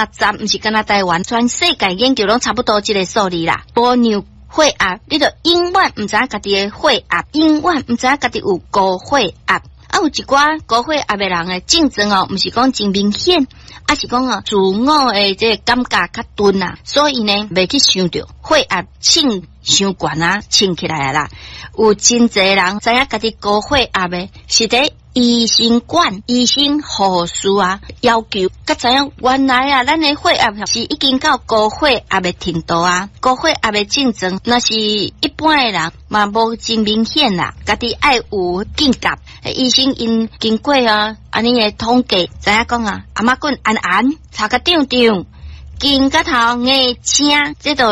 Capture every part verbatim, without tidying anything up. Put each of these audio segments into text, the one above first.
十，毋是干焦台灣，全世界研究攏差不多這个數字啦。無量血壓，你就永遠毋知影家己的血壓，永遠毋知影家己有高血壓。啊，有一寡高血壓的人的症狀哦，毋是講真明顯，啊是講哦，自我的這个感覺較鈍啊，所以呢，袂去想著血壓衝傷懸啊，衝起來啊啦。有真濟人知影家己高血壓的，是佇醫生館、醫生護士啊要求，才知影原來啊，咱的血壓是已經到高血壓的程度啊。高血壓的症狀，若是一般的人嘛無真明顯啦，家己愛有警覺。醫生𪜶經過啊，按呢的統計，知影講啊，頷頸絚絚，頭殼脹脹，肩胛頭硬青，這都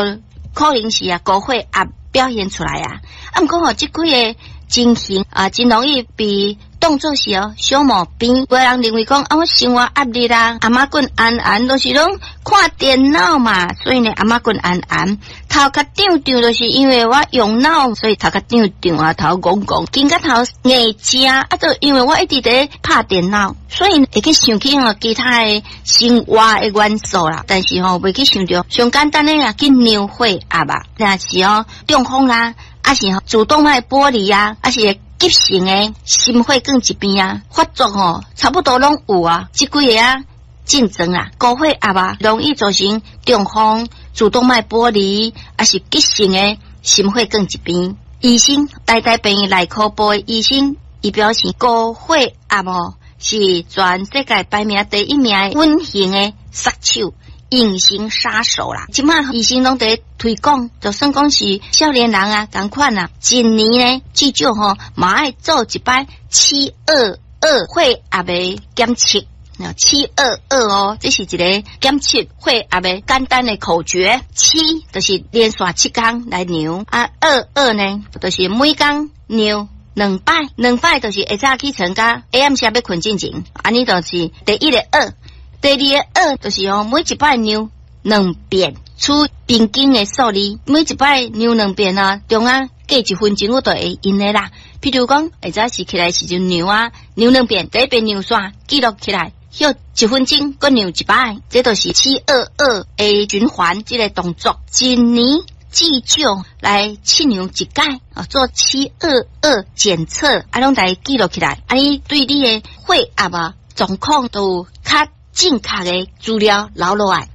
可能是啊高血壓表現出來啊。啊，毋過吼，這幾个情形啊，真容易被當作是哦小毛病。有的人認為講啊，我生活壓力啦，頷頸絚絚，都是攏看電腦嘛，所以呢，頷頸絚絚，頭殼脹脹，就是因為我用腦，所以頭殼脹脹啊，頭戇戇，肩胛頭硬青啊，就因為我一直佇拍電腦，所以會去想起吼其他的生活的元素啦。但是吼，袂去想著上簡單的啊，去量血壓吧，若是哦中風啦，抑是吼主動脈剝離啊，抑是急性的心血管疾病啊，發作吼，差不多攏有啊。這幾个啊症狀啊，高血壓啊，容易造成中風、主動脈剝離，抑是急性的心血管疾病。醫生，台大病院內科部的醫生，伊表示高血壓哦，是全世界排名第一名的隱形的殺手。隱形殺手啦！這馬醫生攏佇推廣，就算講是少年人啊，仝款啊，一年呢至少吼嘛愛做一擺七二二血壓的檢測。七二二哦，這是一個檢測血壓的簡單的口訣。七就是連續七工來量，啊二二呢，就是每工量兩擺，兩擺就是下早起床佮下暗時欲睏進前，按呢就是第一个二。第二个二就是吼，每一擺量兩遍，取平均的數字，每一擺量兩遍啊，中間隔一分鐘我就會用的啦。譬如講，下早時起來時陣量啊，量兩遍，第一遍量煞記錄起來，歇一分鐘，閣量一擺，這就是七二二的循環這个動作。一年至少來測量一擺啊，做七二二檢測，啊，攏來記錄起來，按呢對你的血壓啊狀況都有較正確的資料留落來。